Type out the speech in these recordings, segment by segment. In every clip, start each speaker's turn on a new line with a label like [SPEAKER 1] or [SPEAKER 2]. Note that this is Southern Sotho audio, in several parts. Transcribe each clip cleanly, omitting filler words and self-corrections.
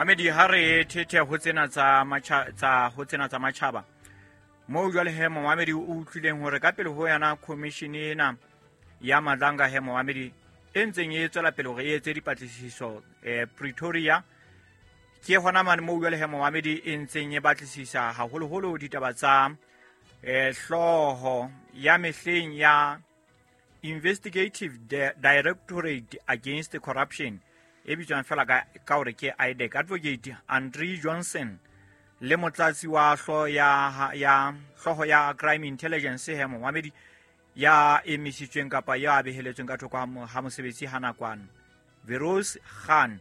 [SPEAKER 1] Mamedi, ha re thethe ho tsena tsa matjha tsa ho tsena tsa matjhaba moo jwale he momamedi o utlwileng hore ka pele ho yona commission ena ya Madlanga he momamedi e ntseng e tswela pele hore e etse dipatlisiso Pretoria. Ke hona mane moo jwale he momamedi e ntseng e batlisisa haholoholo ditaba tsa hlooho ya mehleng ya Investigative Directorate Against Corruption e bitswang fela ka hore ke IDAC, Advocate Andre Johnson le motlatsi wa hlooho ya hlooho ya Crime Intelligence he momamedi ya emisitsweng kapa ya beheletsweng ka thoko ha mosebetsi ha nakwana Veros Khan,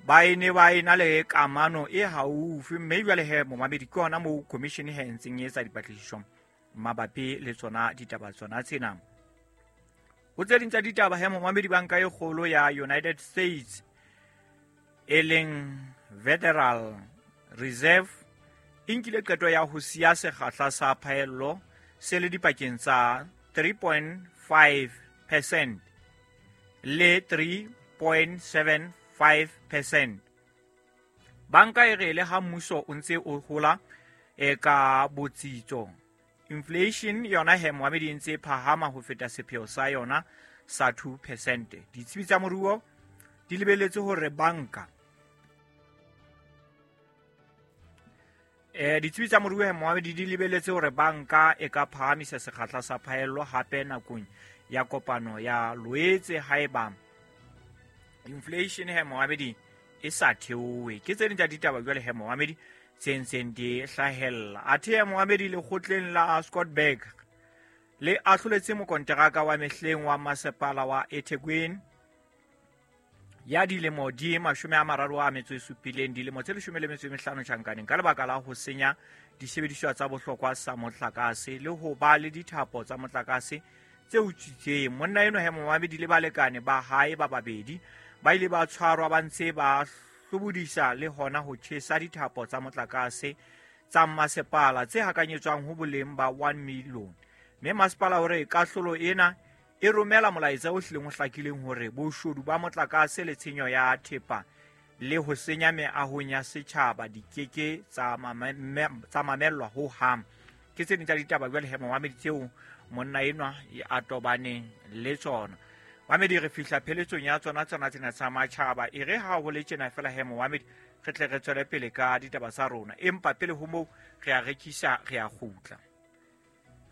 [SPEAKER 1] ba e ne ba ena le kamano e haufi, mme jwale he momamedi ke hona moo commission he ntseng e etsa dipatlisiso mabapi le tsona ditaba tsona tsena. Ho tse ding tsa ditaba he momamedi, banka e kgolo ya United States e leng Federal Reserve e nkile qeto ya ho siya sekgahla sa phaello se le dipakeng tsa 3.5% le 3.75%. Banka e re le ha mmuso o ntse o hola e ka botsitso, inflation yona he moamedi e ntse e phahama ho feta sepheo sa yona sa 2%. Ditsebi tsa moruo di lebeletse hore banka ditsebi tsa moruo he moamedi di lebeletse hore banka e ka phahamisa sekgahla sa phaello hape nakong ya kopano ya Loetse haeba inflation he moamedi e sa theohe. Ke tse ding tsa ditaba jwale he moamedi tse ntseng di hlahella. Athe he moamedi, lekgotleng la Scottburgh le ahloletse mokonteraka wa mehleng wa masepala wa eThekwini ya dilemo di 37, dilemo tse 15 tjhankaneng ka lebaka la ho senya disebediswa tsa bohlokwa sa motlakase le ho ba le dithapo tsa motlakase tse utswitseng. Monna eno he momamedi le balekane ba hae ba babedi ba ile ba tshwarwa ba ntse ba hlobodisa le hona ho tjhesa dithapo tsa motlakase tsa masepala tse hakanyetswang ho boleng ba 1 million. Mme masepala o re kahlolo ena e romela molaetsa o hlileng o hlakileng hore boshodu ba motlakase le tshenyo ya thepa le ho senya meahong ya setjhaba di keke tsa mamellwa ho hang. Ke tse ding tsa ditaba jwale he momamedi tseo monna enwa a tobaneng le tsona. Mamedi, re fihla pheletsong ya tsona tsena tsa matjhaba. E re ha ho le tjena fela he momamedi re tle re tswele pele ka ditaba tsa rona, empa pele ho moo re a rekisa, re a kgutla.